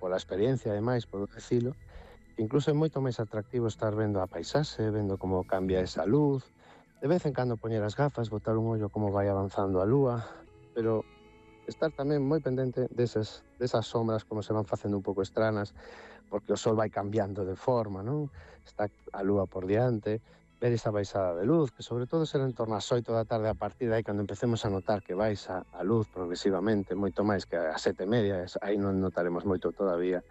pola experiencia, ademais, podo dicilo, incluso é moito máis atractivo estar vendo a paisaxe, vendo como cambia esa luz, de vez en cando poñer as gafas, botar un ollo como vai avanzando a lúa, pero estar tamén moi pendente desas sombras como se van facendo un pouco estranas, porque o sol vai cambiando de forma, non? Está a lúa por diante, ver esa baixada de luz, que sobre todo será en torno ás 8 da tarde, a partir de aí cando empecemos a notar que baixa a luz progresivamente, moito máis que ás 7:30, aí non notaremos moito todavía,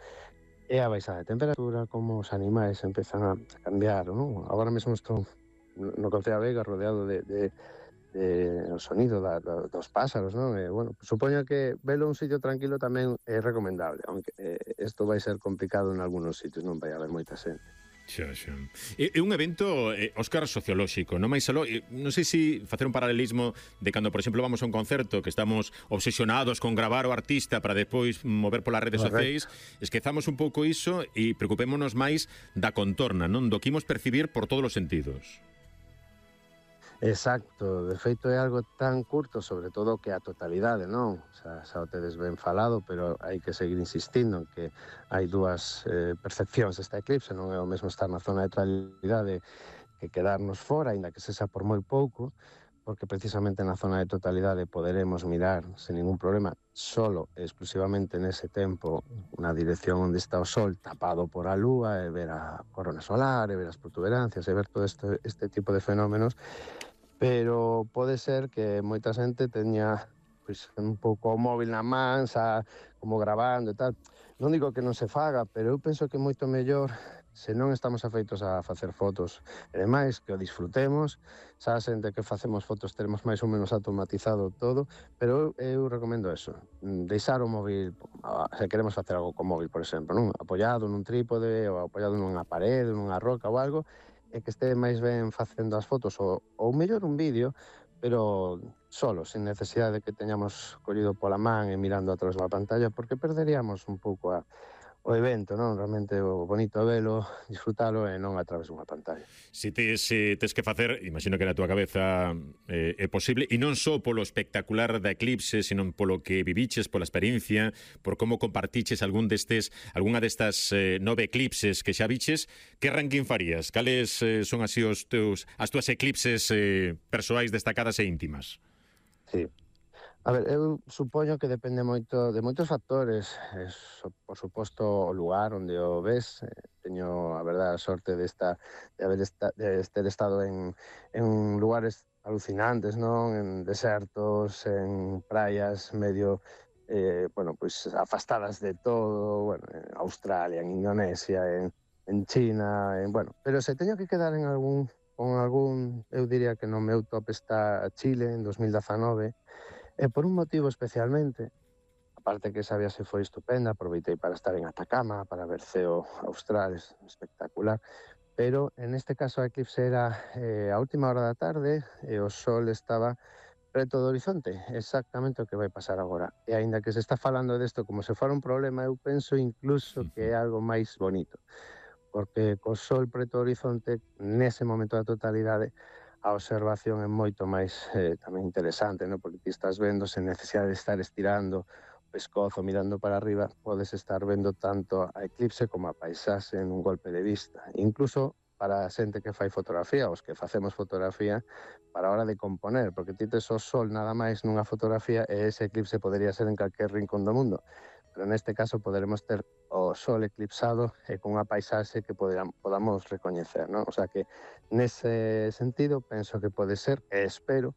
e a baixada de temperatura, como os animais empezan a cambiar, non? Agora mesmo estou no Concello da Veiga rodeado o sonido dos pásaros, non? E, bueno, supoño que velo un sitio tranquilo tamén é recomendable, aunque isto vai ser complicado en algúns sitios, non vai haber moita xente. Xa. É un evento, Óscar, sociolóxico, non máis aló, non sei se facer un paralelismo de cando, por exemplo, vamos a un concerto que estamos obsesionados con gravar o artista para depois mover polas redes sociais, esquezamos un pouco iso e preocupémonos máis da contorna, non? Do que imos percibir por todos os sentidos. Exacto, de feito é algo tan curto, sobre todo que a totalidade, non? Xa o tedes ben falado, pero hai que seguir insistindo en que hai dúas percepcións desta eclipse, non é o mesmo estar na zona de totalidade que quedarnos fora, aínda que sexa por moi pouco, porque precisamente na zona de totalidade poderemos mirar sen ningún problema solo e exclusivamente nese tempo na dirección onde está o sol tapado por a lúa e ver a corona solar e ver as protuberancias e ver todo este tipo de fenómenos, pero pode ser que moita xente teña pois un pouco o móvil na man, xa como gravando e tal. Non digo que non se faga, pero eu penso que é moito mellor se non estamos afeitos a facer fotos e demais, que o disfrutemos, xa a xente que facemos fotos teremos máis ou menos automatizado todo, pero eu recomendo eso, deixar o móvil, se queremos facer algo co móvil, por exemplo, non? Apoiado nun trípode ou apoiado nunha parede, nunha roca ou algo, e que este máis ben facendo as fotos ou mellor un vídeo, pero solo, sin necesidade de que teñamos collido pola man e mirando a través da pantalla, porque perderíamos un pouco o evento, non? Realmente o bonito é velo, disfrutalo e non a través dunha pantalla. Se tes que facer, imagino que na túa cabeza é posible, e non só polo espectacular da eclipse, sino polo que viviches, pola experiencia, por como compartiches algunha destas 9 eclipses que xa viches, que ranking farías? Cales son así as túas eclipses persoais destacadas e íntimas? Sí. A ver, eu supoño que depende moito de moitos factores. Por suposto, o lugar onde o ves. Teño, a verdade, a sorte de ter estado en lugares alucinantes, non? En desertos, en praias medio, bueno, pois afastadas de todo, bueno, en Australia, en Indonesia, en China, bueno. Pero se teño que quedar con algún, eu diría que no meu top está Chile, en 2019, e por un motivo especialmente, aparte que esa viaxe foi estupenda, aproveitei para estar en Atacama, para ver ceo austral, espectacular, pero en este caso a eclipse era a última hora da tarde e o sol estaba preto do horizonte, exactamente o que vai pasar agora. E aínda que se está falando desto como se fora un problema, eu penso incluso que é algo máis bonito, porque co sol preto do horizonte, nese momento da totalidade, a observación é moito máis tamén interesante, non? Porque ti estás vendo sen necesidade de estar estirando o pescozo, mirando para arriba, podes estar vendo tanto a eclipse como a paisaxe en un golpe de vista. Incluso para a xente que fai fotografía, os que facemos fotografía, para a hora de componer, porque ti tes o sol nada máis nunha fotografía e ese eclipse podería ser en calquer rincón do mundo. Pero neste caso poderemos ter o sol eclipsado e con unha paisaxe que podamos recoñecer, non? O sea que, nese sentido, penso que pode ser, e espero,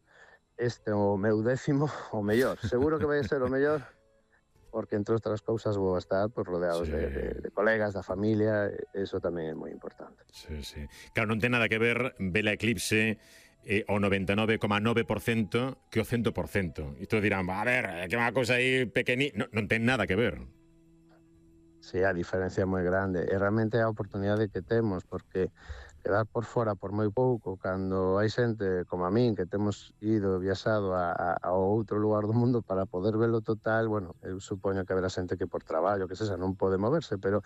este o meu 10º o mellor. Seguro que vai ser o mellor, porque, entre outras cousas, vou estar rodeados de colegas, da familia, e iso tamén é moi importante. Sí. Claro, non ten nada que ver a eclipse o 99,9% que o 100%. E todos dirán, a ver, que é unha cousa aí pequenina. Non ten nada que ver. Sí, a diferencia é moi grande. E realmente é a oportunidade que temos, porque quedar por fora por moi pouco, cando hai xente como a min, que temos viaxado a outro lugar do mundo para poder velo total, bueno, eu supoño que haberá xente que por traballo, que sexa, non pode moverse, pero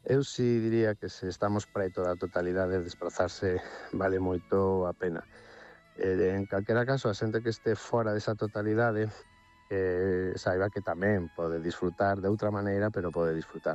eu si diría que se estamos preto da totalidade, desplazarse vale moito a pena. En calquera caso, a xente que este fora desa totalidade saiba que tamén pode disfrutar de outra maneira, pero pode disfrutar.